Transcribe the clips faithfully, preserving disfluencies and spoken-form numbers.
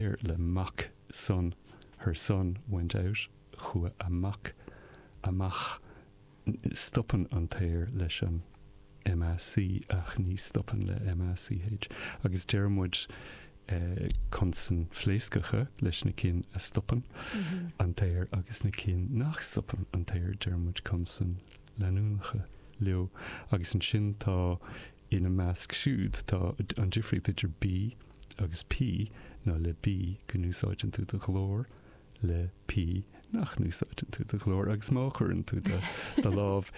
Le mac, son, her son went out, chuaigh a mac amach. Stopann an t-aer leis an M A C ach ní stopann le M A C H, agus deir muid consain phléascacha leis na cinn a stopann an t-aer, agus na cinn nach stopann an t-aer, deir muid consain leanúnacha leo. Agus ansin tá, ina measc siúd, tá an difríocht idir B agus P ná le B go n-úsáideann tú do ghlór, le P nach n-úsáideann tú do ghlór. Agus má chuireann tú do do lámh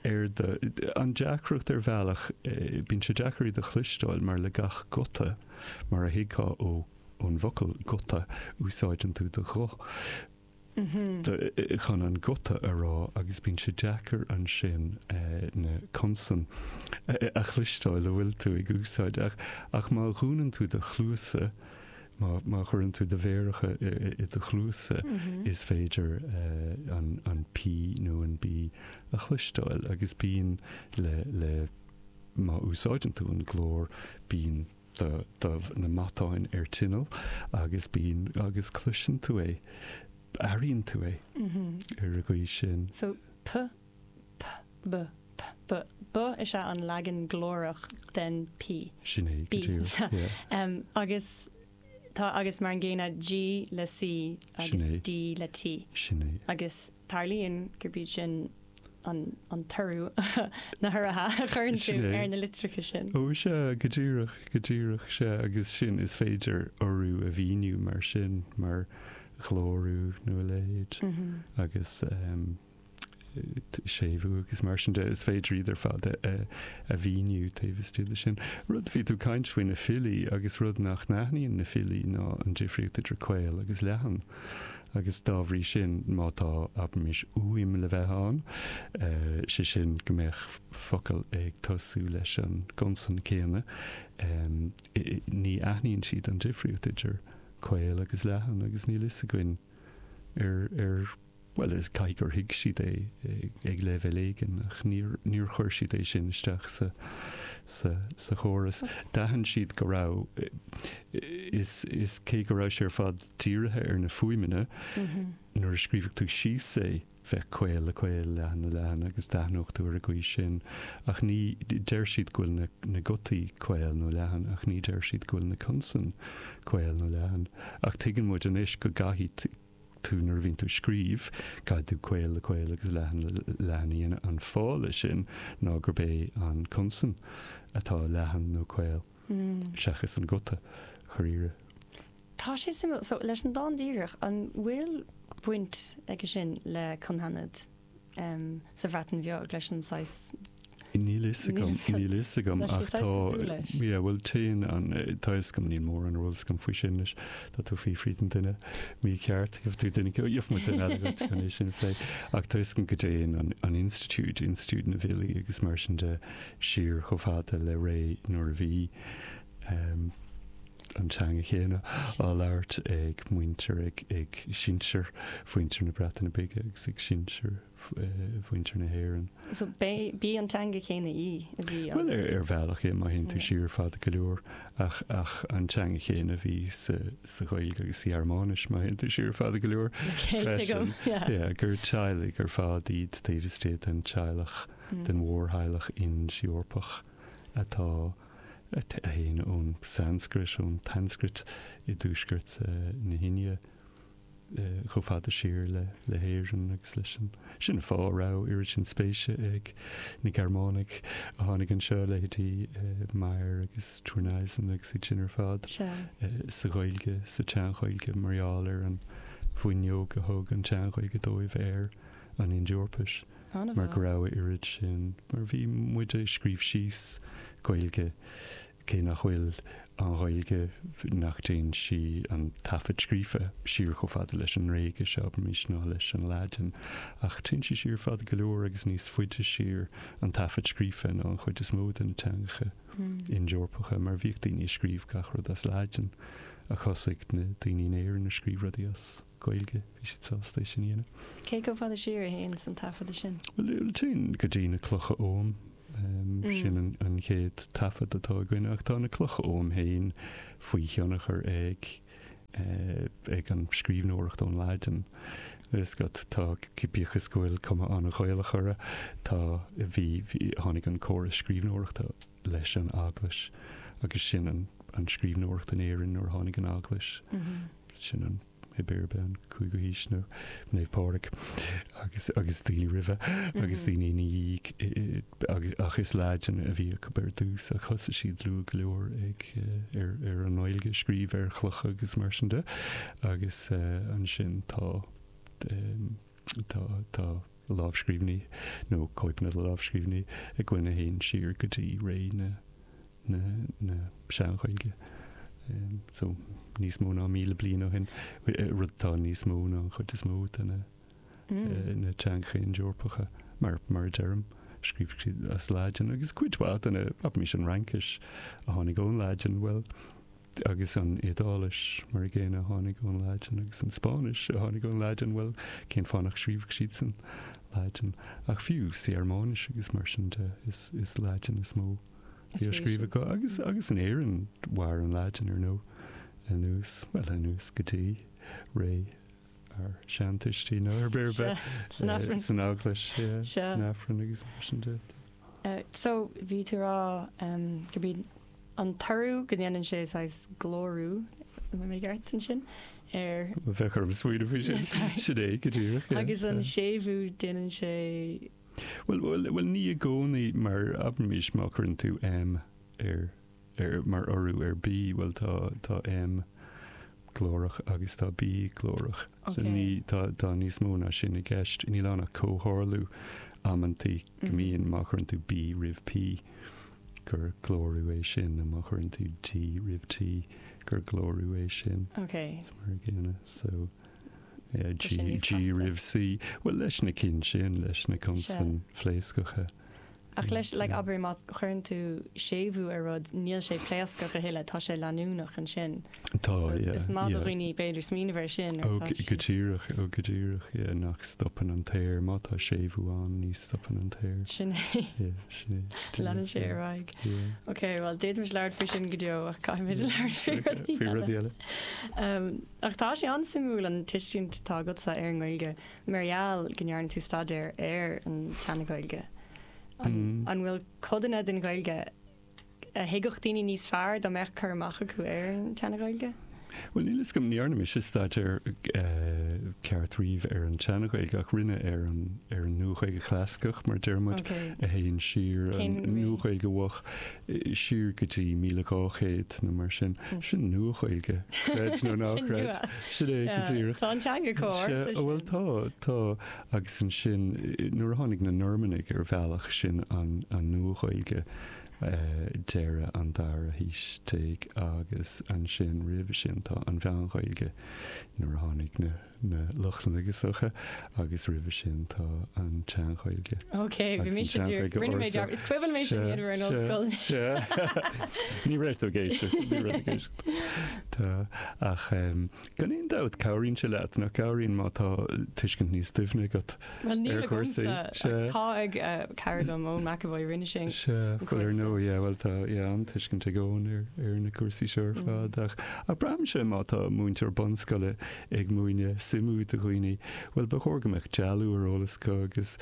ar do, an deacracht ar bhealach, bíonn sé deacair iad a chloisteáil, mar le gach guta, mar a thuigfeá ó ón bhfocal guta, úsáideann tú do ghuth chun an guta a rá, agus bíonn sé deacair ansin na consain a chloisteáil a bhfuil tú ag úsáid. ach ach má dhúnann tú do chluasa, má má chuireann tú do mhéaracha i do chluasa, is féidir an an P nó an B a chloisteáil. Agus bíonn le le má úsáideann tú an glór, bíonn do do na matáin ar tinneall agus bíonn agus cloiseann tú é, airíonn tú é ar an gcaoi sin. So P P B P B B is ea an leagan glórach den P. Sin é. B. um, agus tá agus mar an gcéanna G le C agus D le T. Sin é. Agus tarlaíonn gurb iad sin an an t-urú, na huruithe a chuireann tú ar na litreacha sin. Ó sea, go díreach, go díreach, sea. Agus sin, is féidir urú a mhíniú mar sin, mar ghlórú nó a leithéid, agus um, séimhiú agus mar sin de, is féidir iad ar fad a, a mhíniú taobh istigh de sin. Rud, bhí tú caint faoi na filí, agus rud nach n-aithníonn na filí ná an difríocht idir caol agus leathan. Agus dá bhrí sin, má tá, abraimis, uaim le bheith ann, sé sin go mbeadh focal ag tosú leis an gconsan céanna, ní aithníonn siad an difríocht idir caol agus leathan. Agus níl fhios againn ar ar bhuel, is caithfidh gur thuig siad é ag leibhéal éigin, ach níor níor chuir siad é sin isteach sa sa sa chóras. D'aithin siad go raibh is is cé go raibh sé ar fad dírithe ar na fuaimeanna, nuair a scríobhadh tú síos é, bheadh caol le caol, leathan le leathan, agus d'aithneodh tú ar an gcaoi sin. Ach ní deir siad go bhfuil na na gutaí caol nó leathan, ach ní deir siad go bhfuil na consain caol nó leathan. Ach tuigeann muid anois go gcaithfidh tú, nuair a bhíonn tú scríobh, caithfidh tú caol le caol agus leathan le leathan a dhéanamh. An fáth leis sin ná gurb é an consan atá leathan nó caol seachas an guta chorírre. Tá sé suimiúil. So leis an dán díreach, an bhfuil baint aige sin le cynghanedd um, sa Bhreatain Bheag, leis an saghas Níl fhios agam, níl fhios agam, ach tá, bhfuil, téann an, tá fhios agam, níl mórán eolas agam faoi sin leis. Tá tú fiafraí den duine mícheart, gheobhaidh tú duine, gheobhaidh muid duine eile agat chun é sin a phlé, ach tá fhios agam go dtéann an an institiúid, institiúid na bhfilí agus mar sin de, siar chomh fada le ré nuair a bhí um, an teanga chéanna á labhairt ag muintir ag ag sinsir mhuintir na Breataine Bige agus ag sinsir mhuintir na hÉireann. So b'í an teanga chéanna í a bhí Well, ar ar bhealach é, má théann tú siar fada go leor, ach ach an teanga chéanna a bhí sa sa Ghaeilge agus sa Ghearmáinis, má théann tú siar fada go leor freisin. Yeah, gur teaghlaigh ar fad iad taobh istigh den teaghlach, den mhórtheaghlach Ind-Eorpach atá a théann ón Sanscrait, ón tSanscrait i dtuaisceart na hIndia, chomh fada siar le le hÉirinn agus leis an. Sin an fáth a raibh oiread sin spéise ag na Gearmánaigh a tháinig anseo, leithéidí Meyer agus Thurneysen agus iad sin ar fad, sa Ghaeilge, sa tSean-Ghaeilge, mar gheall ar an bhfuinneog a thug an tSean-Ghaeilge dóibh ar an Ind-Eorpais, mar go raibh a oiread sin, mar bhí muid ag scríobh síos Gaeilge. Cé nach bhfuil an Ghaeilge, nach dtéann sí, an taifead scríofa, siar chomh fada leis an nGréigis, abraimis, ná leis an Laidin, ach téann sí siar fada go leor, agus níos faide siar an taifead scríofa ná an chuid is mó de na teangacha Ind-Eorpacha, mar bhíodh daoine ag scríobh gach rud as Laidin, ach thosaigh na daoine in Éirinn ag scríobh rudaí as Gaeilge, bhí siad sásta é sin a dhéanamh. Cé chomh fada siar a théann an taifead sin? Bhuel, téann go dtí na clocha Oghaim. Sin an chéad taifead atá againn, ach tá na clocha Oghaim féin faoi thionchar ag ag an scríbhneoireacht ón Laidin. Is go tá bíodh is go bhfuil cuma an-Ghaelach orthu, tá bhí bhí tháinig an córas scríbhneoireachta leis an eaglais agus sin an an scríbhneoireacht in Éirinn nuair a tháinig an eaglais. Sin an b'fhéidir an cúigiú haois nó Naomh Pádraig agus agus daoine roimhe agus daoine ina dhiaidh agus ach is Laidin a bhí acu ar dtús ach thosaigh siad luath go leor ag ar ar an nGaeilge scríobh ar chlocha agus mar sin de agus ansin tá tá tá lámhscríbhinní nó cóipeanna de lámhscríbhinní againn a théann siar go dtí ré na na na sean-Ghaeilge. So níos mó ná míle bliain ó shin, rud atá níos mó ná an chuid is mó de na na teangacha Ind-Eorpacha mar mar a deirim, scríobh siad as Laidin agus cuid mhaith de na abraimis an Fhraincis a tháinig ón Laidin, bhuel agus an Iodáilis mar a gcéanna a tháinig ón Laidin agus an Spáinnis a tháinig ón Laidin, bhuel cén fáth nach scríobhadh siadsan Laidin ach fiú sa Ghearmáinis agus mar sin de is is Laidin is mó a bhí á scríobh acu agus agus in Éirinn mhair an Laidin ar ndóigh anuas, bhuel anuas go dtí ré ár seantuistí nó ar bith ar bith San Aifreann. San Eaglais, yeah, Sea. san Aifreann agus mar sin de. So bhí tú ag rá gurb iad an t-urú go ndéanann sé saghas glórú, an mbeidh mé ceart ansin, ar Bheadh orm smaoineamh faoi sin. Sin é go díreach, yeah. Agus an séimhiú déanann sé Bhuel, bhuel, bhuel ní i gcónaí mar abraimis má chuireann tú M ar, ar, mar urú ar B, bhuel tá, tá M glórach agus tá B glórach. So Okay. ní, tá, tá níos mó ná sin i gceist. Níl ann ach comhtharlú amantaí go Mhm. mbíonn má chuireann tú B roimh P gur glórú é sin, nó má chuireann tú D roimh T gur glórú é sin. Okay. Is mar a gcéanna. So, yeah, Tá G, sin níos G casta. roimh C. Bhuel leis na cinn sin, leis na consain phléascacha. Ach leis, like, Yeah. abair má chuireann tú séimhiú ar rud, níl sé pléascach a thuilleadh, tá sé leanúnach ansin. Tá, So yeah, is maith do yeah. dhaoine b'fhéidir smaoineamh air sin. Ó, go go díreach, ó go díreach, yeah, nach stopann an t-aer, má tá séimhiú ann, ní stopann an t-aer. Sin é. Yeah, sin é. Leanann sé ar aghaidh. Yeah. Ok, well d'fhéadfaimis labhairt faoi sin go deo ach caithfimid labhairt faoi rudaí Faoi eile. rudaí eile. Um, ach tá sé an-suimiúil an tuiscint atá agatsa ar an nGaeilge, mar gheall go ndearna tú staidéar ar an tSean-Ghaeilge. An, Mm. an bhfuil codanna den Ghaeilge a thuigfeadh daoine níos fearr dá mbeadh cur amach acu ar an tSean-Ghaeilge? Well níl a fhios agam ní dhearna mise staidéar eh, ceart riamh ar an tSean-Ghaeilge ach rinne ar an ar an Nua-Ghaeilge chlasaiceach mar deir muid Okay. a théann siar an Cén ré? Nua-Ghaeilge mhoch eh, siar go dtí míle dhá chéad nó mar sin. Mm. Sin Nua-Ghaeilge creid nó ná Sin creid. nua. Sin é go Yeah, díreach. Tá an teanga chomh Sea, bhuel tá tá agus ansin eh, nuair a tháinig na Normannaigh ar bhealach sin an an Nua-Ghaeilge eh, deireadh an dara haois déag agus ansin roimhe sin tá an Mheán-Ghaeilge nuair a tháinig na na Lochlannaigh is dócha agus roimhe sin tá an tSean-Ghaeilge. Ok, bhí Agus an mise tSean-Ghaeilge rinne mé ársa. dearmad. Is cuimhin mé sin Sea, ar an sea, ollscoil. sea. Ní raibh tú ag éisteacht, ní raibh tú ag éisteacht. Tá ach um, gan aon dabht cabhraíonn sé leat nach cabhraíonn má tá tuiscint níos doimhne agat. Well níl Ar chúrsaí, agamsa sea. tá ag eh, cara liom Eoin McAvoy rinne sé Sea, an bhuel ar cúrsa. ndóigh, yeah, well tá yeah, an tuiscint ag Eoin ar, ar na cúrsaí seo ar Mm. fad ach ach braithimse má tá múinteoir bunscoile ag múineadh suimiú do dhaoine, well ba chóir go mbeadh dealú ar eolas acu agus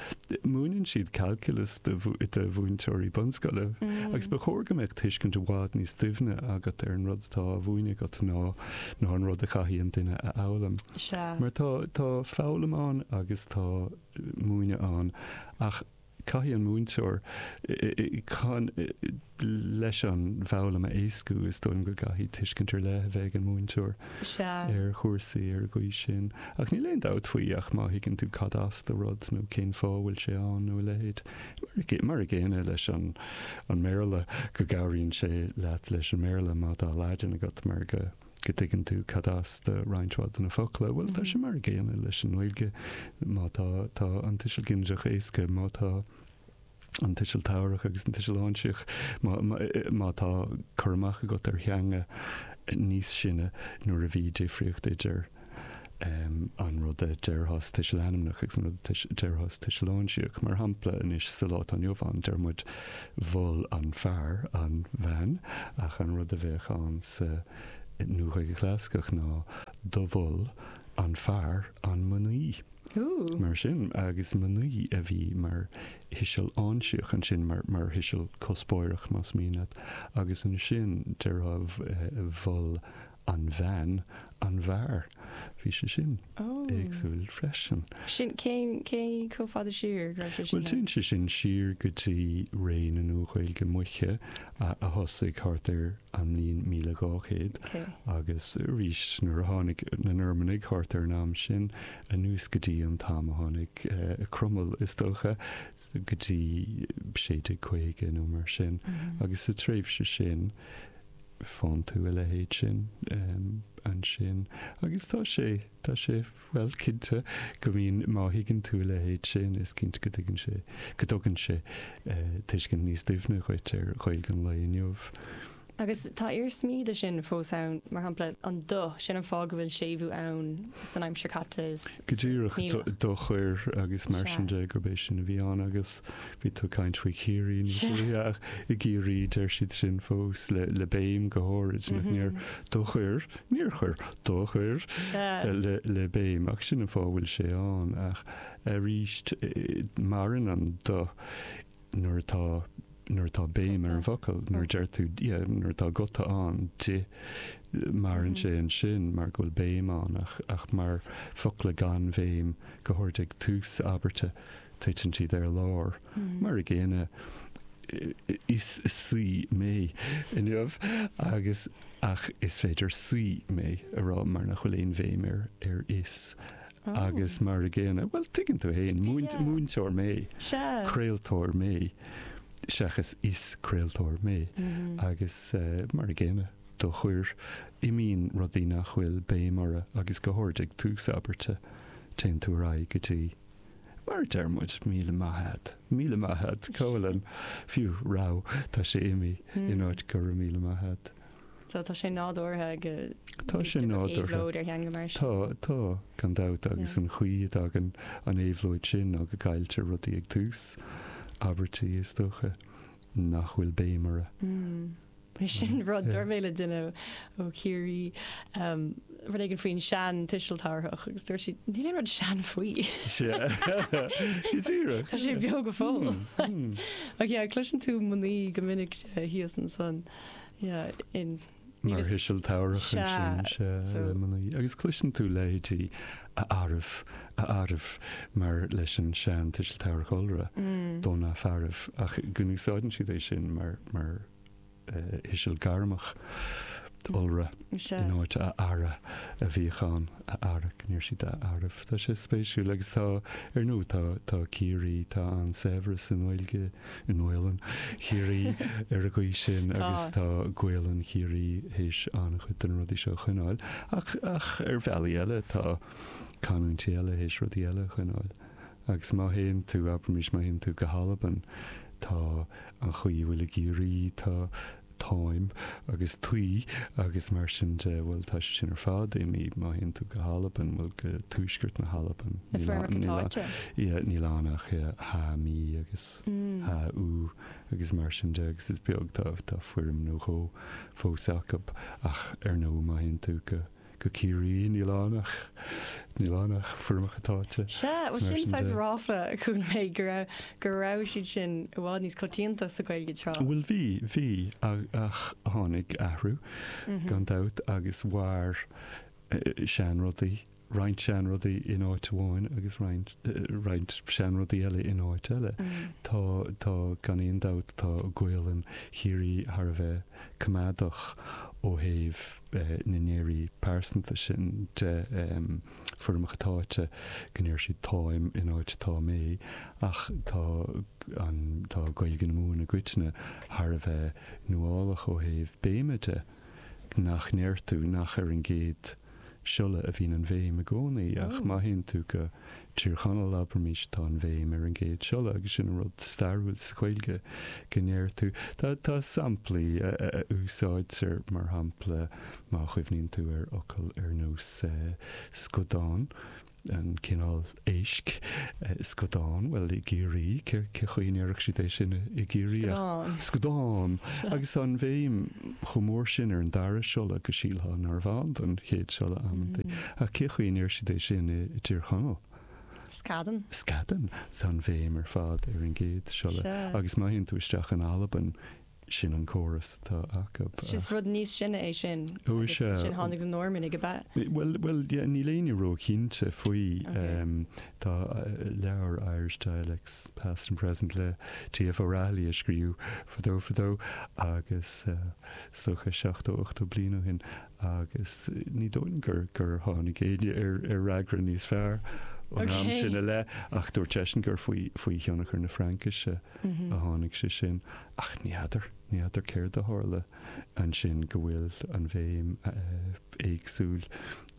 múineann siad calculus do mhú- do mhúinteoirí bunscoile. Mm. Agus ba chóir go mbeadh tuiscint i bhfad níos doimhne agat ar an rud atá á mhúineadh agat ná ná an rud a chaithfidh an duine a fhoghlaim. Sea. Mar tá tá foghlaim ann agus tá múineadh ann ach caithfidh an múinteoir i- i- chun i- leis an bhfoghlaim a éascú is dóigh liom go gcaithfidh tuiscint ar leith a bheith ag an múinteoir Sea. ar chúrsaí ar an gcaoi sin. Ach níl aon dabht faoi ach má thuigeann tú cad as do rud nó cén fáth bhfuil sé ann nó a leithéid. Mar a gé- Mar a gcéanna leis an an mBéarla go gcabhraíonn sé leat leis an mBéarla má tá Laidin agat mar go go dtuigeann tú cad as do roinnt mhaith de na focla, Bhuel tá sé mar a gcéanna leis an nGaeilge má tá tá an tuiseal ginideach éasca, má tá an tuiseal tabharthach agus an tuiseal áinsíoch, má, má, má tá cur amach agat ar theanga níos sine nuair a bhí difríocht idir um, an rud a déarfá sa tuiseal ainmneach agus an rud a déarfá sa tuiseal áinsíoch. Mar shampla anois sa lá atá inniu ann deir muid mhol an fear an bhean ach an rud a bheadh ann sa Nua-Ghaeilge Chlasaiceach ná do mhol an fear an mnaoi. Mar sin, agus mnaoi a bhí mar thuiseal áinsíoch ansin, mar mar thuiseal cuspóireach más mian leat, agus ansin déarfá mhol an bhean an bhfear. Bhí sé sin éagsúil freisin. Sin cén cé chomh fada siar go raibh sé sin Bhuel, téann sé sin siar go dtí ré na Nua-Ghaeilge Moiche a a thosaigh thart ar an mbliain míle dhá chéad agus arís nuair a tháinig na Normannaigh thart ar an am sin anuas go dtí an t-am a tháinig Cromail is dócha, go dtí sé déag caoga nó mar sin agus sa tréimhse sin faigheann tú a leithéid sin ansin agus tá sé, tá sé, bhuel, cinnte go mbíonn, má thuigeann tú a leithéid sin, is cinnte go dtuigeann sé, go dtugann sé tuiscint níos doimhne dhuit ar Ghaeilge an lae inniu. Agus tá iarsmaí de sin fós ann, mar shampla an do, sin an fáth go bhfuil séimhiú ann san aimsir caite is Go díreach, do chuir agus mar sin de, gurb é sin a bhí ann agus bhí tú ag caint faoi Chiarraí níos luaithe ach i gCiarraí deir siad sin fós le le béim go háirid, nach ndeir do chuir, níor chuir, do chuir le le béim ach sin an fáth a bhfuil sé ann ach arís maireann an do nuair atá nuair atá béim ar an bhfocal, nuair a deir tú yeah nuair atá guta ann, di, maireann sé ansin mar go bhfuil béim ann ach ach mar focla gan bhéim, go háirid ag tús abairte, titeann siad ar lár. Mar a gcéanna, is saoi mé inniu agus ach is féidir saoi mé a rá mar nach bhfuil aon bhéim ar ar is. Agus mar a gcéanna, bhuel, tuigeann tú fhéin, múinteoir mé, craoltóir mé, seachas is craoltóir mé. Agus mar a gcéanna, do chuir, imíonn rudaí nach bhfuil béim orthu agus go háirid ag tús abairte, téann tú ar aghaidh go dtí, mar a deir muid, míle maith a'd, míle maith a'd, cá bhfuil an, fiú, raibh, tá sé imithe, in áit go raibh míle maith a'd. So tá sé nádúrtha go Tá sé nádúrtha. éabhlóid ar theanga mar sin. Tá, tá, gan dabht, agus an chaoi a dtagann an éabhlóid sin ná go gcailltear rudaí ag tús abairtí, is dócha, nach bhfuil béim orthu. Sin rud, dúirt mé le duine ó Chiarraí rud éigin faoin sean tuiseal tabharthach agus dúirt siad, níl aon rud sean faoi. Sea, go díreach. Tá sé beo go fóill. Ach yeah, cloiseann tú mnaoi go minic thíos ansan. Yeah, in Mar thuiseal tabharthach ansin, sea, le mnaoi. Agus cloiseann tú leithéidí a fhearaibh, a fhearaibh, mar leis an sean tuiseal tabharthach iolra, do na fearaibh, ach go n-úsáideann siad é sin mar, mar thuiseal gairmeach iolra in áit a fheara a bhíodh ann, a fheara, go ndeir siad a fhearaibh. Tá sé spéisiúil agus tá, ar ndóigh, tá, tá Ciarraí, tá an-saibhreas i nGaeilge, i nGaolainn Chiarraí ar an gcaoi sin agus tá Gaolainn Chiarraí théis an-chuid de na rudaí seo a choinneáil ach, ach ar bhealaí eile tá canúintí eile théis rudaí eile a choinneáil. Agus má théann tú, abraimis, má théann tú go hAlbain, tá an chaoi a bhfuil i gCiarraí, tá táim agus taoi agus mar sin de, bhuel, tá sé sin ar fad imithe má théann tú go hAlbain, bhuel, go tuaisceart na hAlban, Na foirmeacha táite. Yeah, níl ann ach tha, mi agus tha, u agus mar sin de agus is beag, tá, tá foirm nó dhó fós acu ach ar ndóigh má théann tú go Go Ciarraí, níl ann ach, níl ann ach foirmeacha táite. Sea, bhuel Is mar sin sin saghas de. ráfla a chuala mé go raibh, go raibh siad sin i bhfad níos coitianta sa Ghaeilge tráth. Bhuel bhí, bhí, ach tháinig athrú, gan dabht, agus mhair seanrudaí, roinnt seanrudaí in áit amháin agus roinnt, roinnt seanrudaí eile in áit eile. Tá, tá, gan aon dabht, tá Gaolainn Chiarraí thar a bheith coimeádach ó thaobh na n-earraí pearsanta sin de, foirmeacha táite, go ndeir siad táim in áit tá mé, ach tá an, tá Gaeilge na Mumhan i gcoitinne thar a bheith nuálach ó thaobh béime de, nach ndeir tú, nach ar an gcéad siolla a bhíonn an bhéim i gcónaí, ach má théann tú go Tír Chonaill, abraimis, tá an bhéim ar an gcéad siolla agus sin an rud stairiúil sa Ghaeilge go ndeir tú. Tá, tá samplaí a, a, a úsáidtear, mar shampla, má chuimhníonn tú ar fhocal ar nós scadán, an cineál éisc scadán, bhuel i gCiarraí, cé chaoi a ndéarfadh siad é sin i gCiarraí ach scadán! Agus tá an bhéim chomh mór sin ar an dara siolla go sílfeá nárbh ann don chéad siolla amantaí. Ach cé chaoi a ndeir siad é sin i dTír Chonaill? Scadan. Scadan! Tá an bhéim ar fad ar an gcéad siolla. Agus má théann tú isteach in Albain, sin an córas atá acu. Is rud níos sine é sin. Ó is ea. Agus ansin tháinig na Normannaigh, ab ea? Bhuel, bhuel, yeah, níl éinne róchinnte faoi. Tá leabhar Irish Dialects, Past and Present le T.F. O'Rahilly a scríobhadh fadó fadó agus is dócha seachtó, ochtó bliain ó shin agus ní dóigh liom gur, gur tháinig éinne ar, ar fhreagra níos fearr ón am sin i leith ach dúirt seisean gur faoi, faoi thionchar na Fraincise a tháinig sé sin. Ach ní fheadar, ní fheadar céard a tharla ansin go bhfuil an bhéim éagsúil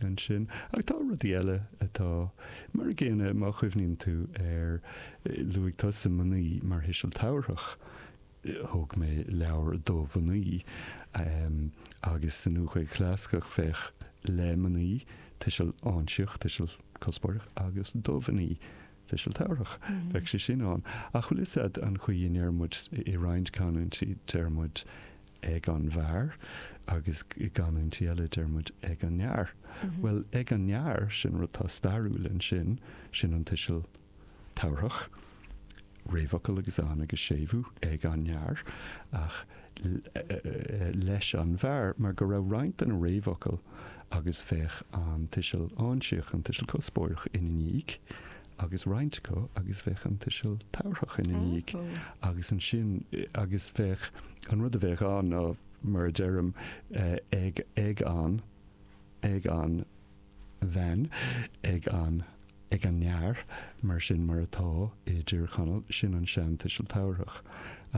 ansin. Ach tá rudaí eile atá mar a gcéanna, má chuimhníonn tú ar, luaigh tusa mnaoi mar thuiseal tabharthach, thóg mé leabhar do mhnaoi agus sa Nua-Ghaeilge Chlasaiceach bheadh le mnaoi, tuiseal áinsíoch, tuiseal cuspóireach, agus do mhnaoi, tuiseal tabharthach. Bheadh sé sin ann. Ach bhfuil fhios a'd an chaoi a ndeir muid i roinnt canúintí, deir muid ag an bhfear agus i gcanúintí eile deir muid ag an fhear. Bhuel, ag an fhear, sin rud atá stairiúil ansin, sin an tuiseal tabharthach, réamhfhocal agus an agus séimhiú ag an fhear, ach leis an bhfear, mar go raibh roinnt de na réamhfhocail agus bheadh an tuiseal áinsíoch, an tuiseal cuspóireach ina ndiaidh, agus roinnt acu agus bheadh an tuiseal tabharthach ina ndiaidh agus ansin agus bheadh an rud a bheadh ann ná mar a deirim ag ag an ag an bhean ag an ag an fhear mar sin mar atá i dTír Chonaill sin an seantuiseal tabharthach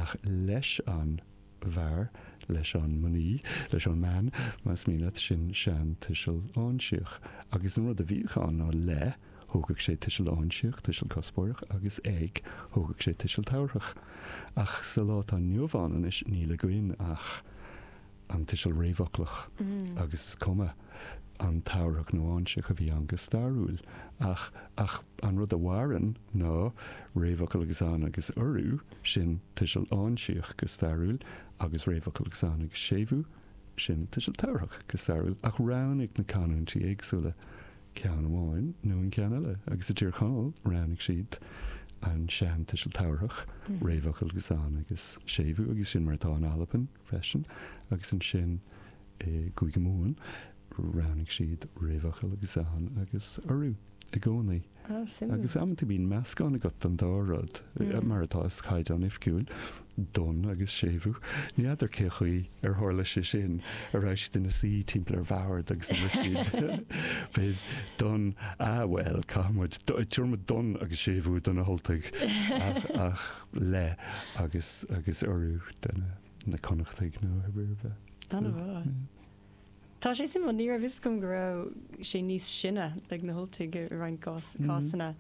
ach leis an bhfear leis an mnaoi leis an mbean más mian leat sin seantuiseal áinsíoch agus an rud a bhíodh ann ná le Thógadh sé tuiseal áinsíoch, tuiseal cuspóireach, agus ag, thógadh sé tuiseal tabharthach. Ach sa lá atá inniu ann anois níl againn ach an tuiseal réamhfhoclach agus is cuma an tabharthach nó áinsíoch a bhí ann go stairiúil. Ach, ach an rud a mhaireann ná réamhfhocal agus an agus urú, sin tuiseal áinsíoch go stairiúil, agus réamhfhocal agus an agus séimhiú, sin tuiseal tabharthach go stairiúil. Ach roghnaigh na canúintí éagsúla ceann amháin nó an ceann eile, agus i dTír Chonaill roghnaigh siad an sean-tuiseal tabharthach, réamhfhocal agus an agus séimhiú, agus sin mar atá in Albain freisin, agus ansin i gCúige Mumhan roghnaigh siad réamhfhocal agus an agus urú i gcónaí. Oh, suimiúil. Agus amanta bíonn meascán agat den dá rud, mar atá sa Chaighdeán Oifigiúil, don agus séimhiú. Ní fheadar cé chaoi ar tharla sé sin, an raibh siad ina suí timpeall ar bhord agus an raibh siad b'é don, ah bhuel, caithfidh muid, tabharfaidh muid don agus séimhiú do na hUltaigh ach, ach le agus, agus urú do na, na Connachtaigh nó ar bith. An-mhaith. Tá sé suimiúil, ní raibh fhios agam go raibh sé níos sine ag na hUltaigh i roinnt cásanna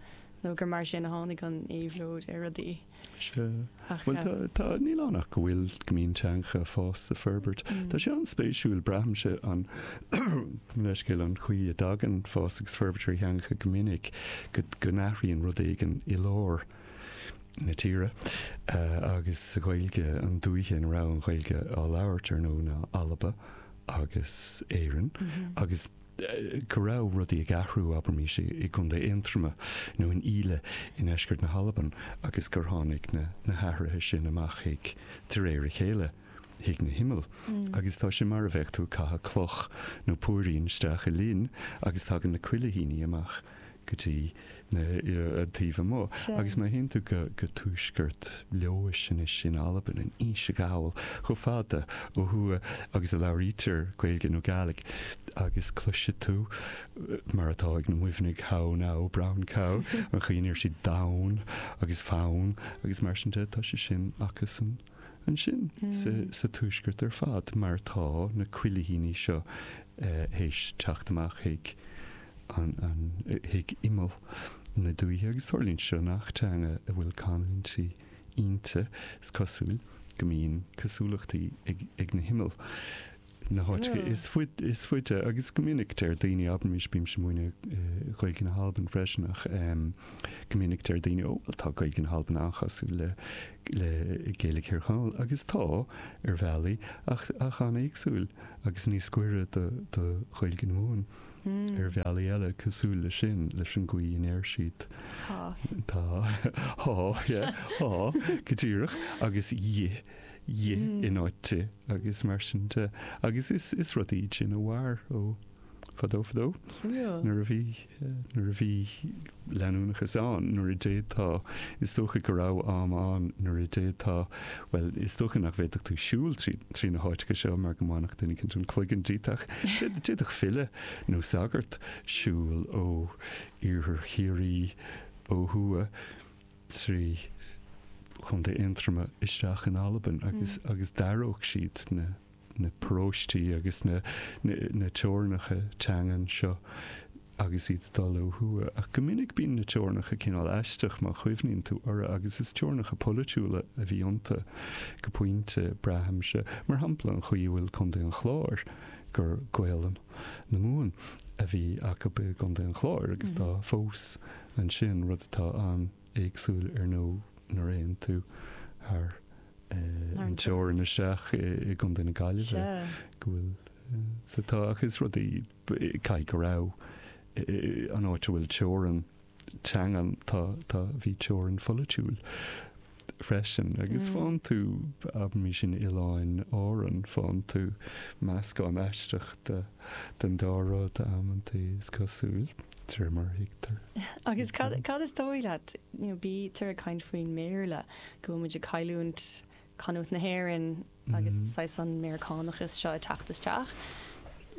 nó gur mar sin a tháinig an éabhlóid ar rudaí. Sea. Bhuel, tá, tá, níl ann ach go bhfuil, go mbíonn teangacha ag fás is ag forbairt. Tá sé an-spéisiúil, braithimse an, leithscéal, an chaoi a dtagann fás agus forbairt ar theangacha go minic, go, go n-athraíonn rud éigin i lár na tíre agus sa Ghaeilge, an dúiche ina raibh an Ghaeilge á labhairt, ar ndóigh, ná Alba. agus Éirinn agus go raibh rudaí ag athrú, abraimis, i gContae Aontroma nó in Íle i ndeisceart na hAlban agus gur tháinig na na hathruithe sin amach chuig, de réir a chéile, chuig na himill. Agus tá sé mar a bheadh tú ag caitheamh cloch nó púirín isteach i linn agus tagann na cuilithíní amach go dtí na an taobh amuigh. Agus má théann tú go go tuaisceart Leodhais anois in Albain, in Inse Ghall, chomh fada ó thuaidh agus a labhraítear Gaeilge nó Gàidhlig, agus cloisfidh tú, mar atá ag na Muimhnigh, how now, brown cow, an chaoi a ndeir siad donn agus fonn agus mar sin de, tá sé sin acusan ansin sa sa tuaisceart ar fad, mar tá na cuilithíní seo théis teacht amach chuig an chuig imeall na dúiche agus tarlaíonn sé seo i ngach teanga a bhfuil canúintí inti, is cosúil go mbíonn cosúlachtaí ag na himill Na háiteacha is faide is faide agus go minic deir daoine abraimis bímse ag múineadh Gaeilge na hAlban freisin ach go minic deir daoine ó bhuel tá Gaeilge na hAlban an-chosúil le le Gaeilge Thír Chonaill agus tá ar bhealaí ach ach an-éagsúil agus níos gaire do do Ghaeilge na Mumhan ar bhealaí eile cosúil le sin leis an gcaoi a ndeir siad Tá. Tá há yeah há go díreach agus dhi dhi in áit ti agus mar sin de agus is is rud iad sin a mhair ó fadó fadó Suimiúil. nuair a bhí nuair a bhí leanúnachas ann nuair a d'fhéadfá is dócha go raibh am ann nuair a d'fhéadfá bhuel is dócha nach bhféadfadh tú siúl trí trí na háiteacha seo mar go mbainfeadh duine éicint an cloigeann díot ach d'fhéadfadh file nó sagart siúl ó iarthar Chiarraí ó thuaidh trí Chontae Aontroma isteach in Albain agus agus d'aireodh siad na na paróistí agus na na na teorainneacha teangan seo agus iad ag dul ó thuaidh. Ach go minic bíonn na teorainneacha cineál aisteach má chuimhníonn tú orthu agus is teorainneacha polaitiúla a bhí iontu go pointe braithimse. Mar shampla an chaoi a bhfuil Contae an Chláir gur Gaolainn na Mumhan a bhí acu i gContae an Chláir agus tá fós ansin rud atá an-éagsúil ar ndóigh nuair a théann tú thar an teorainn isteach i gContae na Gaillimhe go bhfuil sa tá ach is rudaí caithfidh go raibh an áit a bhfuil teorainn teangan tá tá bhí teorainn pholaitiúil freisin agus faigheann tú abraimis in Oileáin Árann faigheann tú meascán aisteach de den dá rud amantaí is cosúil de réir mar a thuigtear. Agus cad cad is dóigh leat you know, bítear ag caint faoin mBéarla go bhfuil muid ag cailliúint canúint na hÉireann agus saghas an Meiriceánachas seo ag teacht isteach.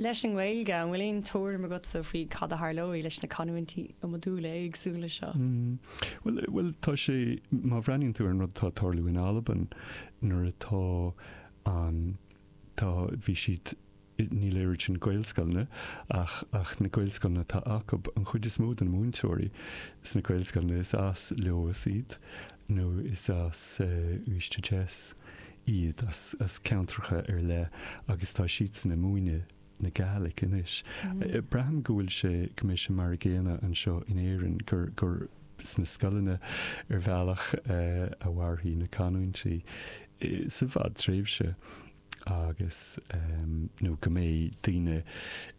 Leis an nGaeilge an bhfuil aon tuairim agatsa faoi cad a tharlóidh leis na canúintí iomadúla éagsúla seo. Mm. Well, well tá sé má bhreathnaíonn tú ar an rud atá ag tarlú in Albain nuair atá an tá bhí siad níl oiread sin Gaelscoileanna ach ach na Gaelscoileanna atá acu an chuid is mó de na múinteoirí sna Gaelscoileanna is as Leodhas iad nó is as uh, Uiste Jess iad as, as ceantracha ar leith agus tá siadsan ag múineadh na Gàidhlig anois. Mm. Braithim go bhfuil sé go mbeidh sé mar an gcéanna anseo in Éirinn gur gur sna scoileanna ar bhealach uh, a mhairfidh na canúintí uh, sa bhfadtréimhse agus um, nó go mbeidh daoine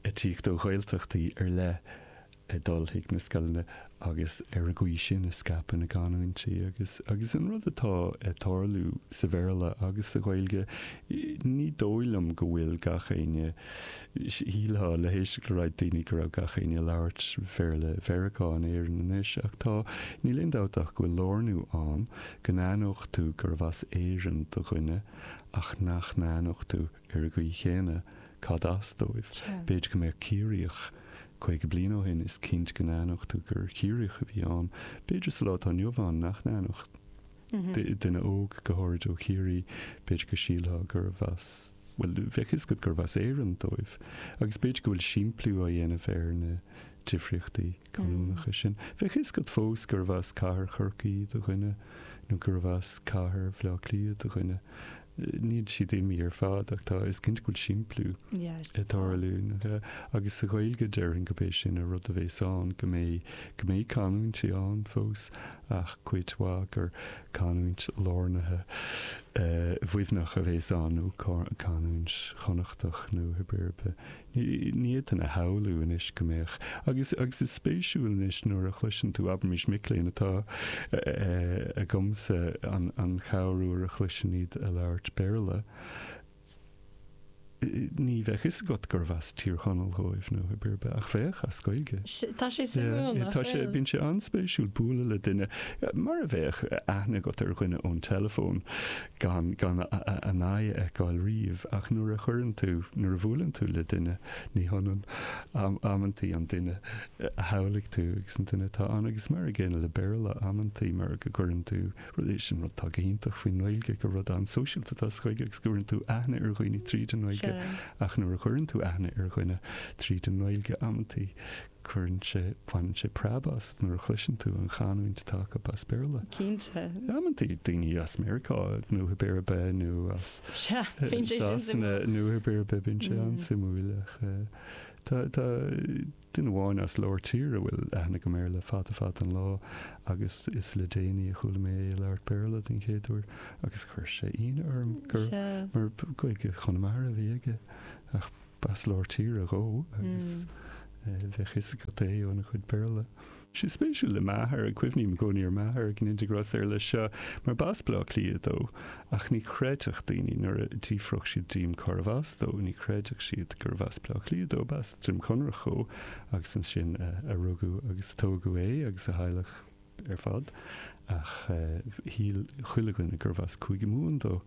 ag tíocht ó Ghaeltachtaí ar leith ag dul chuig na scoileanna agus ar an gcaoi sin a scaipeadh na canúintí agus agus an rud atá ag tarlú sa Bhéarla agus sa Ghaeilge ní dóigh liom go bhfuil gach éinne shílfeá le héisteacht le roinnt daoine go raibh gach éinne ag labhairt Béarla Mheiriceá in Éirinn anois ach tá níl aon dabht ach go bhfuil lárnú ann go n-aithneodh tú gurbh as Éirinn do dhuine ach nach n-aithneodh tú ar an gcaoi chéanna cad as dóibh. B'fhéidir go mbeadh Ciarraíoch caoga bliain ó shin is cinnte go n-aithneodh tú gur Ciarraíoch a bhí ann. B'fhéidir sa lá atá inniu ann nach n-aithneodh duine óg go háirid ó Chiarraí b'fhéidir go sílfeá gurbh as well bheadh fhios agat gurbh as Éirinn dóibh. Agus b'fhéidir go bhfuil simpliú á dhéanamh ar na difríochtaí canúnacha sin. Bheadh fhios agat fós gurbh as cathair Chorcaí do dhuine nó gurbh as cathair Bhaile Átha Cliath do dhuine. Níl siad imithe ar fad ach tá is cinnte go bhfuil simpliú ag tarlú agus sa Ghaeilge déarfainn go b'é sin an rud a bheas ann go mbeidh go mbeidh canúintí ann fós ach cuid mhaith gur canúint lárnaithe Mhuimhneach a bheas ann nó canúint Chonnachtach nó cibé ar bith. Ní fhéadfainn a shamhlú anois go mbeadh agus agus is spéisiúil anois nuair a chloiseann tú abraimis mic léinn atá agamsa an an corruair a chloiseann iad ag labhairt Béarla. Ní bheadh fhios agat gurbh as Tír Chonaill dóibh nó cibé ar bith ach bheadh as Gaeilge. Tá sé suimiúil nach Tá sé bhfuil? bíonn sé an-spéisiúil bualadh le duine mar a bheadh aithne agat ar dhuine ón teileafón gan gan a n-aghaidh a fheiceáil riamh ach nuair a chuireann tú nuair a bhuaileann tú le duine ní hionann am amantaí an duine a shamhlaigh tú agus an duine atá ann agus mar an gcéanna le Béarla amantaí mar go gcuireann tú rud é sin rud atá go hiontach faoin nGaeilge gur rud an-sóisialta atá sa Ghaeilge agus go gcuireann tú aithne ar dhaoine tríd an nGaeilge. Sea. Ghaeilge ach nuair a chuireann tú aithne ar dhuine tríd an nGaeilge amantaí cuireann sé baineann sé preab as nuair a chloiseann tú an chanúint atá acu as Béarla. Cinnte. Amantaí daoine as Meiriceá nó Béarba nó as Sasana nó Béarba bíonn sé an-suimiúil ach Tá tá duine amháin as lár tíre a bhfuil aithne agam air le fada fada an lá agus is le déanaí a chuala mé é ag labhairt Béarla den chéad uair agus chuir sé ionadh orm gur mar Gaeilge Chonamara a bhí aige ach b'as lár tíre dhó agus bheadh a fhios agat é óna chuid Béarla. Sé spéisiúil le m'athair, cuimhním i gcónaí ar m'athair ag an Integra ar leis seo, mar b'as Baile Átha Cliath dó, ach ní chreidfeadh daoine nuair a d'fhiafródh siad díom cárbh as dó, ní chreidfeadh siad gurbh as Baile Átha Cliath dó, b'as Droim Conrach dhó agus ansin a rugadh agus a tógadh é agus a theaghlach ar fad, ach shíl chuile dhuine gurbh as Cúige Mumhan dó.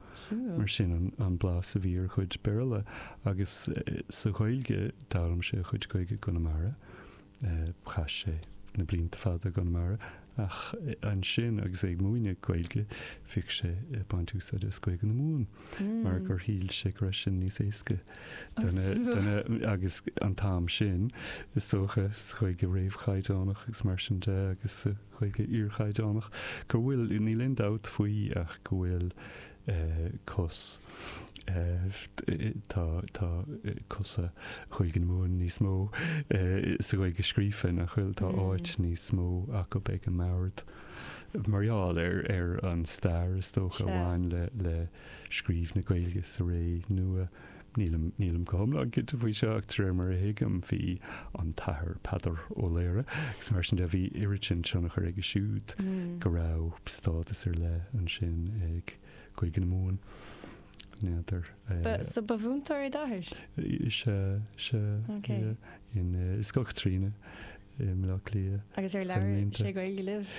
Mar sin an blas a bhí ar a chuid Béarla agus sa Ghaeilge, d'fhoghlaim sé a chuid Gaeilge i gConamara. Chaith sé na blianta fada i gConamara ach ansin agus é ag múineadh Gaeilge bhíodh sé ag baint úsáid as Gaeilge na Mumhan mar gur shíl sé go raibh sin níos éasca do na agus an t-am sin is dócha sa Ghaeilge réamhchaighdeánach agus mar sin de agus sa Ghaeilge iarchaighdeánach go bhfuil níl aon dabht faoi ach go bhfuil cos tá tá cosa Ghaeilge na Mumhan níos mó sa Ghaeilge scríofa nach bhfuil tá áit níos mó acu ag an mbord mar gheall ar ar an stair is dócha a bhain le le scríobh na Gaeilge sa ré nua. Nílim nílim go hiomlán cinnte faoi seo ach de réir mar a thuigim bhí an tAthair Peadar Ó Laoghaire agus mar sin de bhí oiread sin tionchar aige siúd go raibh stádas ar leith ansin ag Gaeilge na Mumhan. N'fheadar. Ba so ba mhúinteoir é d'athair? Sea, sea. Ok. Yeah. In i Scoil Chaitríona i mBaile Átha Cliath. Agus ar labhair sé Gaeilge libh?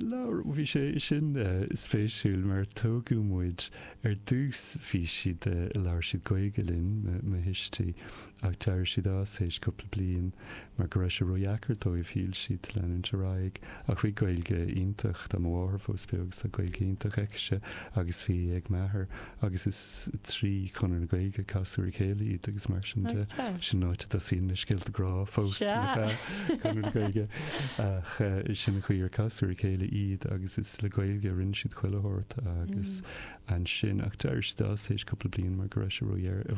Labhair, bhí sé sin spéisiúil mar tógadh muid ar dtús bhí siad, labhair siad Gaeilge linn, mo thuistí, ach d'éirigh siad as théis cúpla bliain mar go raibh sé ródheacair dóibh, shíl siad, leanúint ar aghaidh. Ach bhí Gaeilge iontach, tá mo mháthair fós beo agus tá Gaeilge iontach aicise agus bhí ag m'athair agus is trí Chonradh na Gaeilge a casadh ar a chéile iad agus mar sin de. Sin an áit a dtosaíonn na scéalta grá fós, nach ea? Conradh na Gaeilge. Ach sin an chaoi ar casadh ar a chéile iad agus is le Gaeilge a rinne siad chuile shórt agus ansin ach d'éirigh siad as théis cúpla bliain mar go raibh sé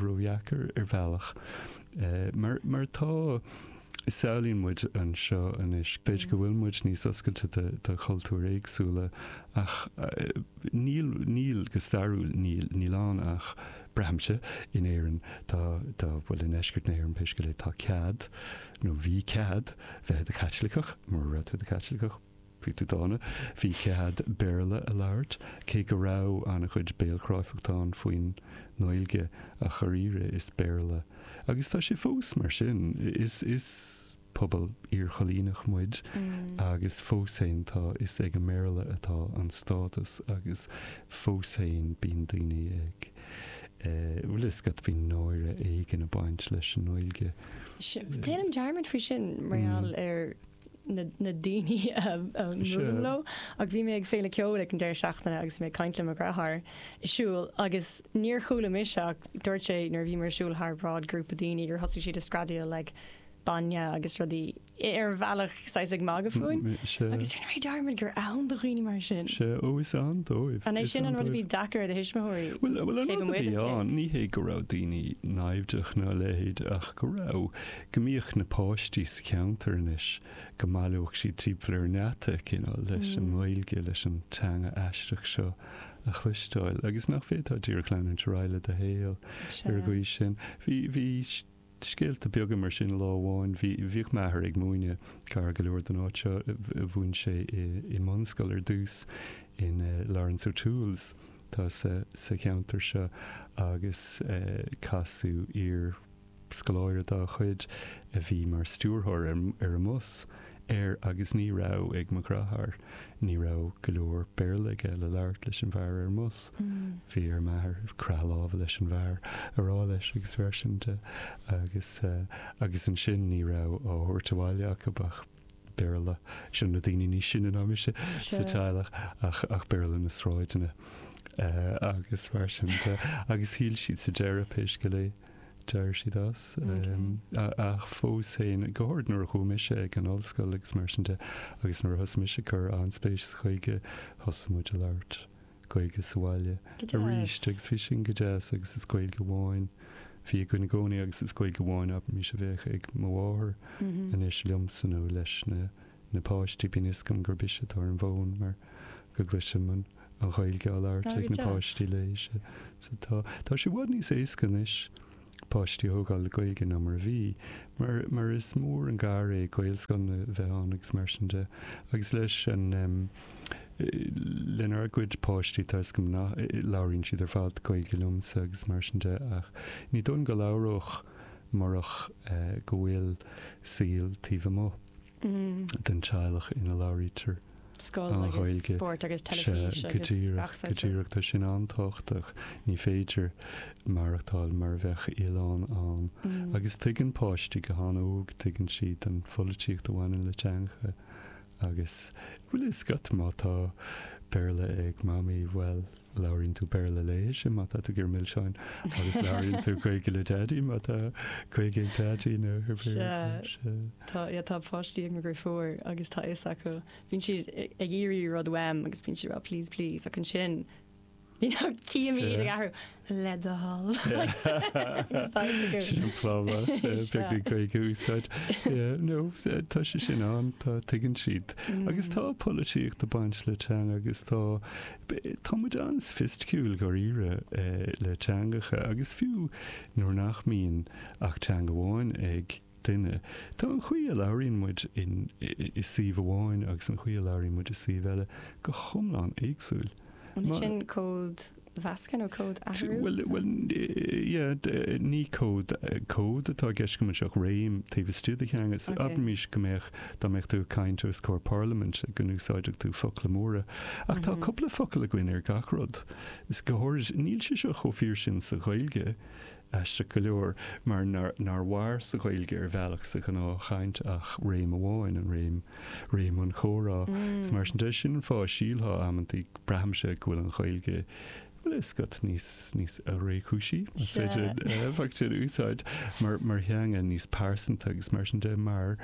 ródheacair ar bhealach. Mar mar tá samhlaíonn muid anseo anois, b'fhéidir go bhfuil muid níos oscailte do do chultúir éagsúla ach níl níl go stairiúil níl níl ann ach braithimse in Éirinn tá tá bhuel i ndeisceart na hÉireann pé scéal é tá cead nó bhí cead bheith i do Chaitliceach mura raibh tú i do Chaitliceach bhí tú dána bhí cead Béarla a labhairt cé go raibh an-chuid béalchráifeachta ann faoin nGaeilge ach dháiríre is Béarla agus tá sé fós mar sin is is pobal iarchoilíneach muid agus fós féin tá is ag an mBéarla atá an stádas agus fós féin bíonn daoine ag eh bhfuil a fhios agat bíonn náire éigin ag baint leis an nGaeilge. Déanaim dearmad faoi sin mar gheall ar na na daoine a a mbuailim leo ach bhí mé ag féile ceoil ag an deireadh seachtaine agus mé ag caint le mo dheartháir ag siúl agus níor chuala mise ach dúirt sé nuair a bhíomar ag siúl thar bráid grúpa daoine gur thosaigh siad ag screadaíl like bainne agus rudaí ar bhealach saghas ag magadh fúinn agus rinne mé dearmad gur ann do dhaoine mar sin. Sea, ó is ann dóibh. An é sin an rud a bhí deacair ar do thuismitheoirí Bhuel, bhuel an taobh rud a amuigh bhí den tigh? ann, ní hé go raibh daoine naimhdeach ná a leithéid ach go raibh, go mbíodh na páistí sa cheantar anois, go mbaileodh siad timpeall ar an ngeata, cineál, leis an nGaeilge, leis an teanga aisteach seo a chloisteáil agus nach bhféadfá díreach leanúint ar aghaidh le do shaol ar an gcaoi sin. Bhí, bhí scéalta beaga mar sin lá amháin, bhí, bhíodh m'athair ag múineadh gar go leor don áit seo, mhúin sé i, i mbunscoil ar dtús in Laurence O'Toole's atá sa, sa cheantar seo agus casadh iar scoláire dá chuid a bhí mar stiúrthóir ar an mbus air agus ní raibh ag mo dheartháir, ní raibh go leor Béarla aige le labhairt leis an bhfear ar an mbus. Bhí ar m'athair croitheadh láimhe leis an bhfear a rá leis agus mar sin de agus agus ansin ní raibh á thabhairt abhaile acu ach Béarla, sin na daoine níos sine ná mise sa teaghlach ach ach Béarla na sráideanna agus mar sin de agus shíl siad sa deireadh pé scéal é. D'éirigh siad as. Ach fós féin, go háirid nuair a chuaigh mise ag an ollscoil agus mar sin de, agus nuair a thosaigh mise ag cur an-spéis sa Ghaeilge, thosaigh muid a labhairt Gaeilge sa bhaile arís agus bhí sin go deas agus is Gaeilge amháin a bhí againn i gcónaí agus is Gaeilge amháin abraimis a bheadh ag mo mháthair anois liomsa nó leis na na páistí. Bíonn fhios agam gurb ise atá ar an bhfón mar go gcloisim an an Ghaeilge á labhairt ag na páistí léi. So tá tá sé i bhfad níos éasca anois páistí a thógáil le Gaeilge ná mar a bhí, mar mar is mór an gar é Gaelscoileanna a bheith ann agus mar sin de. Agus leis an lenár gcuid páistí tá fhios agam nach labhraíonn siad ar fad Gaeilge liomsa agus mar sin de ach ní dóigh liom go labhródh murach go bhfuil saol taobh amuigh den teaghlach ina labhraítear Scoil agus spórt agus teilifís agus gach saghas. Go díreach, tá sin an-tábhachtach. Ní féidir maireachtáil mar a bheadh oileán ann. Agus tuigeann páistí go han-óg, tuigeann siad an pholaitíocht a bhaineann le teangacha agus, bhfuil fhios agat, má tá Béarla ag Mamaí, bhuel, labhraíonn tú Béarla léi má tá tú ag iarraidh milseáin agus labhraíonn tú Gaeilge le Daidí má tá Gaeilge ag Daidí nó ar bith. Sea. Tá, yeah, tá páistí ag mo dheirfiúr agus tá fhios acu. Bíonn siad ag iarraidh rud uaim agus bíonn siad ag rá please, please ach ansin you know, cím iad ag athrú le do thoil. Agus tá fhios acu. Sin an plámás, beagán Gaeilge a úsáid. Yeah, no, tá sé sin ann, tá, tuigeann siad. Agus tá polaitíocht ag baint le teanga agus tá, tá muid an-soifisticiúil dháiríre le teangacha agus fiú nuair nach mbíonn ach teanga amháin ag duine, tá an chaoi a labhraíonn muid in, i suíomh amháin agus an chaoi a labhraíonn muid i suíomh eile go hiomlán éagsúil. An é sin cód mheascadh nó cód athrú? Bhuel, bhuel, yeah, ní cód, cód atá i gceist agam anseo ach réim taobh istigh de theanga. Okay. Abraimis go mbeadh, dá mbeadh tú ag caint os comhair parlaimint, go n-úsáidfeadh tú focla móra. Ach tá cúpla focal againn ar gach rud. Is go háirid, níl sé seo chomh fíor sin sa Ghaeilge, aisteach go leor, mar nár, nár mhair sa Ghaeilge ar bhealach sa ghnáthchaint ach réim amháin, an réim, réim an chomhrá. Is mar sin de, sin an fáth a sílfeá amantaí, braithimse go bhfuil an Ghaeilge, bhfuil fhios agat, níos, níos réchúisí, más féidir an focal sin a úsáid, mar, mar theanga níos pearsanta agus mar sin de, mar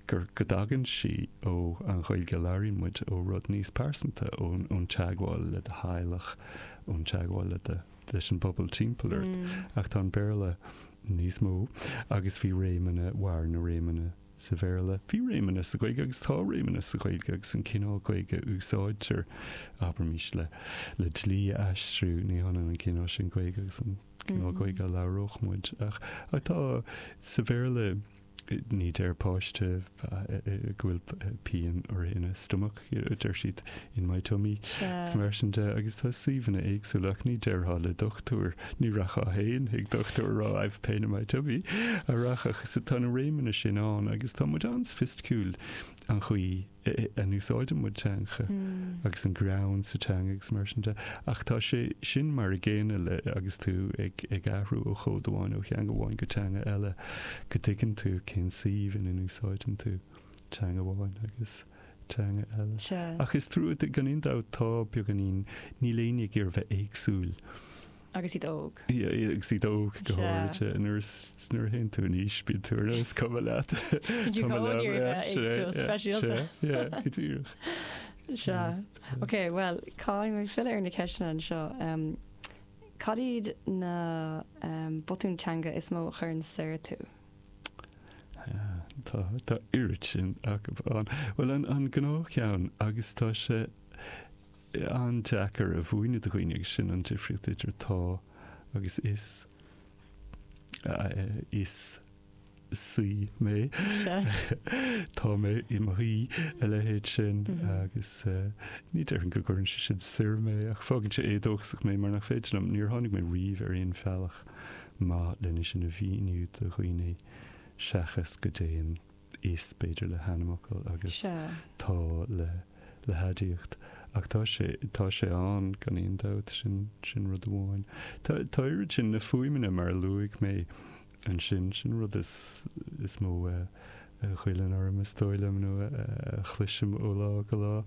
gur, go dtagann sí ó an Ghaeilge a labhraíonn muid, ó rud níos pearsanta, ón, ón teagmháil le do theaghlach, ón teagmháil le do, leis an bpobal timpeall ort. Ach tá an Béarla níos mó agus bhí réimeanna, mhair na réimeanna sa Bhéarla. Bhí réimeanna sa Ghaeilge agus tá réimeanna sa Ghaeilge agus an cineál Gaeilge a úsáidtear, abraimis, le le dlí a aistriú, ní hionann an cineál sin Gaeilge agus an cineál Gaeilge a labhródh muid. Ach tá sa Bhéarla, ní deir páiste go bhfuil pian orthu ina stomach, deir siad in my tummy agus mar sin de agus tá suíomhanna éagsúla ach ní déarfá le dochtúir, ní rachfá féin chuig dochtúir a rá I've pain in my tummy a rachadh. So tá na réimeanna sin ann agus tá muid an-soifisticiúil an chaoi a n-úsáideann muid teangacha agus an greann sa teanga agus mar sin de. Ach tá sé sin mar a gcéanna le agus tú ag ag athrú ó chód amháin, ó theanga amháin go teanga eile, go dtuigeann tú cén suíomh ina n-úsáideann tú teanga amháin agus teanga eile. Sea. Ach is trua, gan aon dabht, tá beagáinín, níl éinne ag iarraidh bheith éagsúil. Agus iad óg. Agus iad óg go háirithe. Nuair a théann tú in aois, bíonn tú ar nós cuma leat. Bíonn tú ag iarraidh bheith éagsúil, speisialta. Sea, go díreach. Sea. Ok, bhuel, caithfidh mé filleadh ar na ceisteanna anseo. Cad iad na botúin teanga is mó a chuireann soir tú? Tá, tá oiread sin acu ann. Bhuel, an gnáthcheann, agus tá sé an-deacair a mhúineadh do dhaoine agus sin an difríocht idir tá agus is. Is saoi mé. Tá mé i mo shuí, a leithéid sin agus ní déarfainn go gcuireann sé sin soir mé ach fágann sé éadóchasach mé mar nach féidir liom, níor tháinig mé riamh ar aon bhealach maith lena sin a mhíniú do dhaoine seachas go dtéann is, b'fhéidir, le hainmfhocal agus tá le le haidiacht. Ach tá sé, tá sé ann, gan aon dabht, sin, sin rud amháin. Tá, tá oiread sin, na fuaimeanna mar a luaigh mé ansin, sin rud is, is mó a, a ghoilleann orm, is dóigh liom, nó a, a chloisim ó lá go lá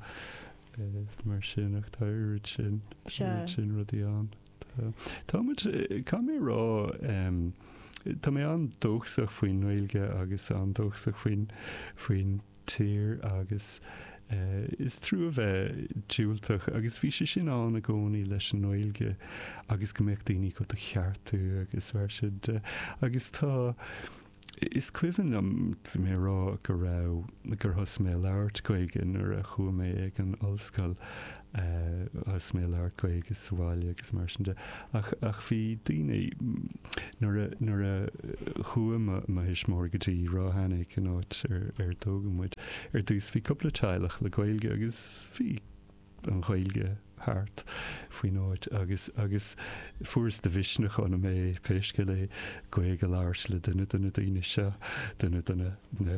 mar sin, ach tá oiread sin, oiread sin rudaí ann. Tá, tá muid, caithfidh mé a rá, Tá mé an-dóchasach faoin nGaeilge agus an-dóchasach faoin faoin tír agus uh, is trua bheith diúltach agus bhí sé sin ann i gcónaí leis an nGaeilge agus go mbeadh daoine go do cheartú agus mar sin de agus tá Is cuimhin liom bhí mé ag rá go raibh gur thosaigh mé ag labhairt Gaeilge nuair a chuaigh mé ag an ollscoil thosaigh mé ag labhairt Gaeilge sa bhaile agus mar sin de ach ach bhí daoine nuair a nuair a chuaigh mo mo thuismitheoirí go dtí Ráth Eanaigh an áit ar ar tógadh muid ar dtús bhí cúpla teaghlach le Gaeilge agus bhí an Ghaeilge thart faoin áit agus agus fuaireas de mhisneach ionam é pé scéal é Gaeilge a labhairt le duine de na daoine seo, duine de na na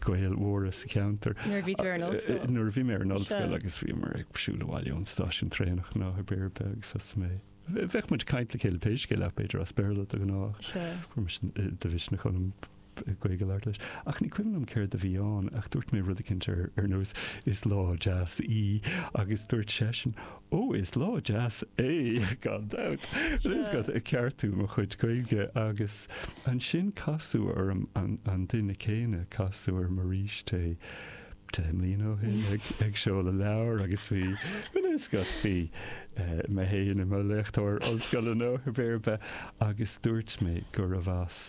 Gaeil mhóra sa cheantar. Nuair a bhí tú ar an ollscoil? Nuair a bhí mé ar an ollscoil agus bhíomar ag siúl abhaile ón stáisiún traenach nó ar bith agus thosaigh mé Bheadh muid ag caint le chéile pé scéal é b'fhéidir as Béarla de ghnáth ach fuair mise de mhisneach ionam Gaeilge a labhairt leis. Ach ní cuimhin liom céard a bhí ann, ach dúirt mé rud eicínt ar ar nós 'is lá deas í' agus dúirt seisean 'ó is lá deas é, gan dabht'. Bhuel, is ag ceartú mo chuid Gaeilge agus ansin casadh orm an an duine céanna, casadh orm arís é deich mbliana ó shin ag ag seoladh leabhair agus bhí, bhuel is agat, bhí mé féin i mo léachtóir ollscoile nó pé ar bith agus dúirt mé gurbh as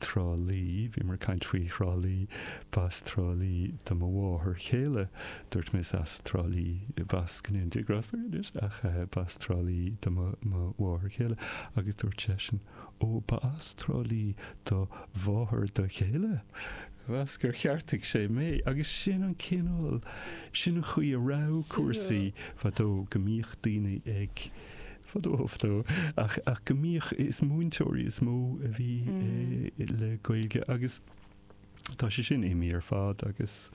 Trá Lí, bhíomar ag caint faoi Thrá Lí, b'as Trá Lí do mo mháthair chéile, dúirt mé is as Trá Lí, b'as, go ndéana Dia grásta uirthi anois, ach b'as Trá Lí do mo mháthair chéile agus dúirt seisean, ó ba as Trá Lí do mháthair do chéile? Mheas gur cheartaigh sé mé agus sin an cineál, sin an chaoi a raibh cúrsaí fadó, go mbíodh daoine ag. Fadó, fadó, ach, ach go mbíodh, is múinteoirí is mó a bhí le Gaeilge agus tá sé sin imithe ar fad agus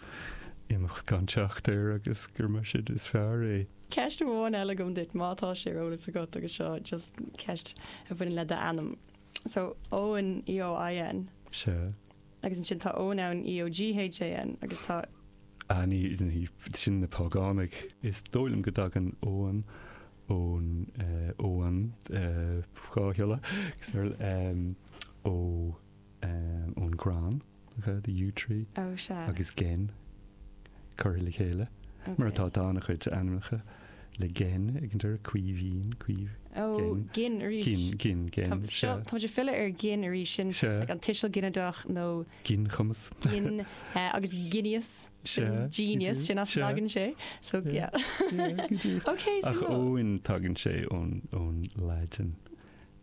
imeacht gan teacht air agus gur mar sin is fearr é. Ceist amháin eile agam duit, má tá sé ar eolas agat agus seo just ceist a bhaineann le d'ainm. So, Eoin, E O I N. Sea. Agus ansin tá Eoghan ann, E O G H A N, agus tá. Ah, ní, ní, sin na págánaigh. Is dóigh liom go dtagann Eoghan ón Eoghan dhá shiolla ó ón gcrann, the yew tree, Ó sea. Agus gen curtha le chéile, mar atá tá an-chuid ainmneacha le gen ag an deireadh, Caoimhín, Caoimh, Ó, gen. Gin arís. Gin, gin, gen, Tá seo, sea. tá muid ag filleadh ar gin arís, sin Sea. like an tuiseal ginideach nó Ginchumas. Gin agus ginias. Sea, Genius, sin as a sea. dtagann sé. So, Yeah. yeah. Yeah, go díreach. Ok, Ach suimiúil. Eoin tagann sé ón ón Laidin,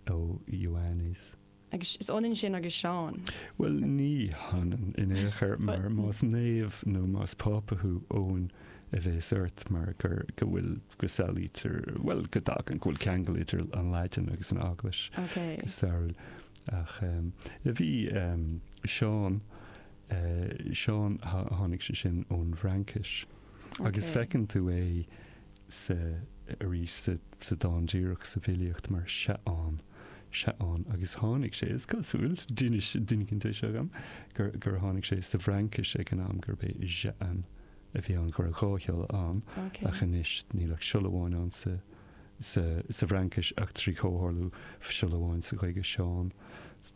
ó Ioannes. Agus is ionann sin agus Seán. Bhuel, ní hionann in aon chor mar más naomh nó más pápa thú, Eoin a bheas ort mar gur go bhfuil go samhlaítear, bhuel, go dtagann, go bhfuil ceangal idir an Laidin agus an Eaglais Ok. go stairiúil. Ach bhí Seán, Seán, tháinig sé sin ón bhFraincis. Agus feiceann tú é sa, arís sa, sa dán díreach, sa bhfilíocht mar Seán, Seán. Agus tháinig sé, is cosúil, d'inis duine éicint é seo dhom, gur, gur tháinig sé sa bhFraincis ag an am gurb é Jehan a bhí ann, go raibh dhá shiolla ann, ach anois níl ach siolla amháin ann sa, sa bhFraincis ach trí chomhtharlú siolla amháin sa Ghaeilge, Seán.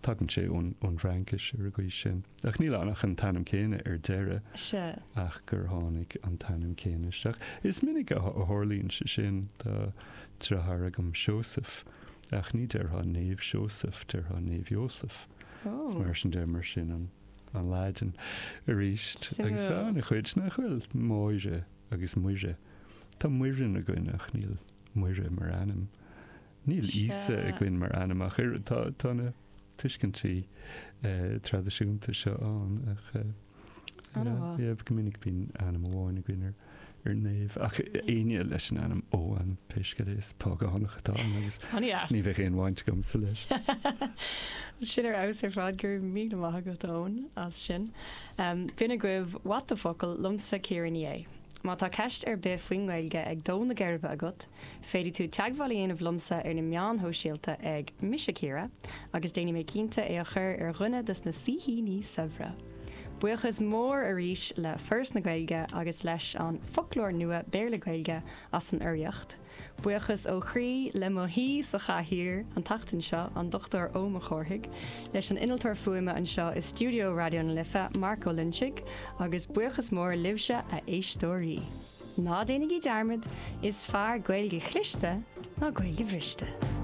Tagann sé ón bhFraincis ar an gcaoi sin. Ach níl ann ach an t-ainm céanna ar deireadh. Sea. Ach gur tháinig an t-ainm céanna isteach. Is minic a tharlaíonn sé sin. Tá deartháir agam, Seosamh, ach ní déarfá Naomh Seosamh, déarfá Naomh Iósaf. Is mar sin de, mar sin an an Laidin arís. Agus tá Suimiúil. an-chuid nach bhfuil, Máire agus Muire. Tá Muireann againn ach níl Muire mar ainm. Níl Íosa Sea. againn mar ainm ach oiread. Tá, tá na tuiscintí traidisiúnta seo ann ach An-mhaith. yeah, go minic bíonn ainm amháin againn ar ar naomh ach éinne leis an ainm Eoghan pé scéal é is págánach atá ann agus An-dheas. ní bheadh aon bhaint agamsa leis. Sin ar fheabhas ar fad go raibh míle maith agat Eoin as sin. Um, B'in agaibh What the Focal liomsa Ciara Ní É. Má tá ceist ar bith faoin nGaeilge ag dó na geirbe agat, féadfaidh tú teagmháil a dhéanamh liomsa ar na meáin shóisialta ag Mise Ciara agus déanfaidh mé cinnte é a chur ar dhuine de na saoithíní saibhre. Buíochas mór arís le Foras na Gaeilge agus leis an foclóir nua Béarla Gaeilge as an urraíocht. Buíochas ó chroí le mo haoi sa chathaoir an tseachtain seo an Dr Ó Cárthaigh, leis an innealtóir fuaime anseo i stiúideo Raidió na Life Mark Ó Loinsigh agus buíochas mór libhse a éisteoirí. Ná déanaigí dearmad is fearr Gaeilge chliste ná Gaeilge bhriste.